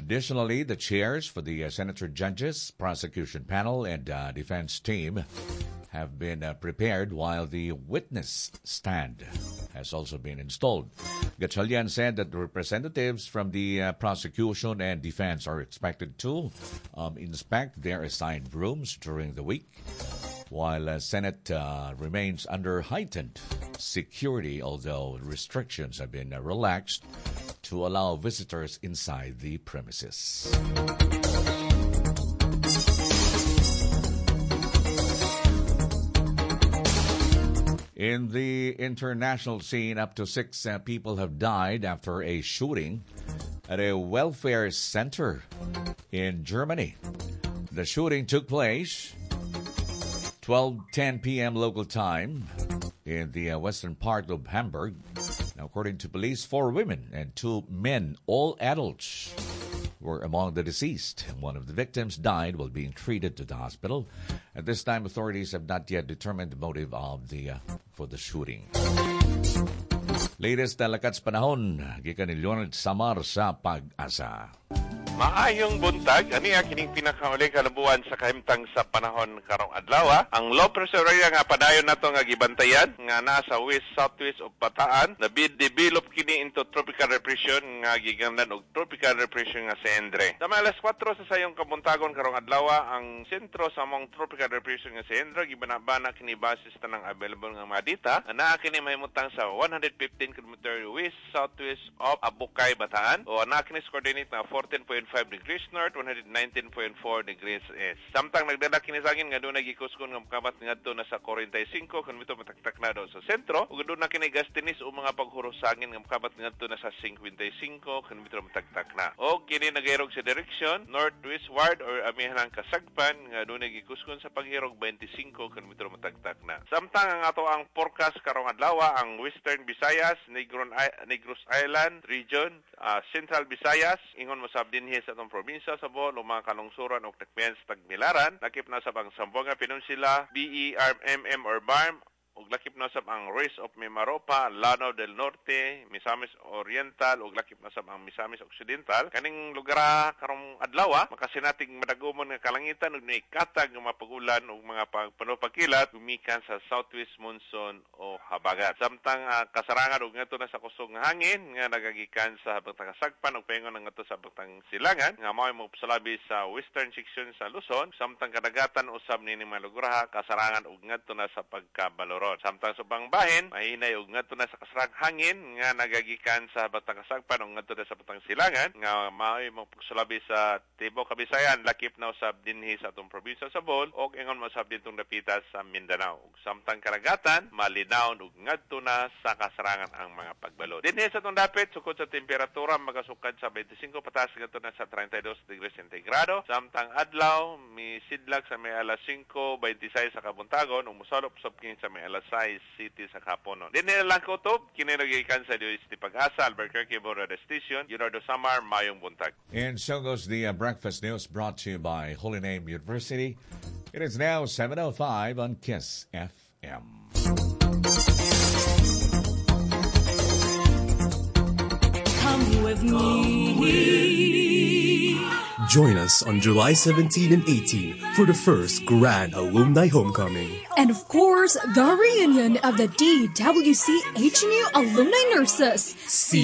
Additionally, the chairs for the senator judges, prosecution panel, and defense team have been prepared, while the witness stand has also been installed. Gatchalian said that the representatives from the prosecution and defense are expected to inspect their assigned rooms during the week, while Senate remains under heightened security, although restrictions have been relaxed to allow visitors inside the premises. In the international scene, up to 6 people have died after a shooting at a welfare center in Germany. The shooting took place 12:10 p.m. local time in the western part of Hamburg. Now, according to police, 4 women and 2 men, all adults, were among the deceased. One of the victims died while being treated to the hospital. At this time, authorities have not yet determined the motive of the for the shooting. Latest talakats panahon, gikan ni Leonard Samar sa Pag-asa. Maayong buntag, ani kining pinakauli kalabuan sa kahimtang sa panahon karong adlaw. Ang low pressure area nga padayon nato nga gibantayan nga naa sa west southwest of Bataan, nabi-develop kini into tropical depression nga gigamnan og tropical depression nga si Endre. Sa mga alas 4 sa sayong kabuntagon karong adlaw, ang sentro sa among tropical depression nga si Endre gibanabana kini basis tanang available nga mga data. Naa kini mahimutang sa 115 km west southwest of Abukay, Bataan, o naa kini sa coordinate na 14.5 degrees north, 119.4 degrees east. Samtang nagdala kini sa angin nga doon nagikuskon nga makabat ngadto na sa 45 kilometro mataktak na doon sa sentro, ug doon na kini gastinis o mga paghuros sa angin nga makabat ngadto na sa 55 kilometro mataktak na. O kini nagahirog sa direction northwestward or amihan ang kasagpan nga doon nagikuskon sa paghirog 25 kilometro mataktak na. Samtang ang ato ang forecast karong adlaw, ang Western Visayas, Negros Island region, Central Visayas, ingon mosab dinhi sa atong probinsya sa Bohol, mga kalungsuran og takmian sa Tagbilaran, lakip na sab ang Zamboanga Peninsula, BERMM or BARM, ug lakip na sab ang rest of Mimaropa, Lanao del Norte, Misamis Oriental, ug lakip na sab ang Misamis Occidental. Kaning lugar karong adlaw makasinatig madagumon nga kalangitan ug naikatag nga mapagulan ug mga pagpanupakilat gumikan sa southwest monsoon o habagat. Samtang kasarangan ug ngadto na sa kusog nga hangin nga nagagikan sa habagtang kasagpan ug paingon ngadto sa habagtang silangan nga mao'y mopsalabi sa western section sa Luzon. Samtang kadagatan usab nining mga lugar kasarangan ug ngadto na sa pagkabaloron. Samtang sa ubang bahin, mahinay og ngadto na sa kasarang hangin nga nagagikan sa batang kasagpan o ngadto na sa batang silangan nga mao'y mopsalabi sa tibuok Kabisayan, lakip na usab dinhi sa atong probinsya sa Bohol og ingon mosab dintong dapita sa Mindanao. Ug samtang karagatan, malinaw og ngadto na sa kasarangan ang mga pagbalod. Dinhi sa atong dapit, sukod sa temperatura magasukad sa 25 pataas ngadto na sa 32 degrees centigrado. Samtang adlaw misidlag sa may alas 5:26 sa kabuntagon ug mosalop sab kini sa may alas 6 City sa kaponon. Dinhi lang ko to, kini nagikan sa DOST Pag-asa, Albuquerque Border Station, Leonardo Samar, mayong buntag. And so goes the breakfast news brought to you by Holy Name University. It is now 7:05 on KISS FM. Come with me. Join us on July 17 and 18 for the first Grand Alumni Homecoming. And of course, the reunion of the DWC HNU Alumni Nurses. See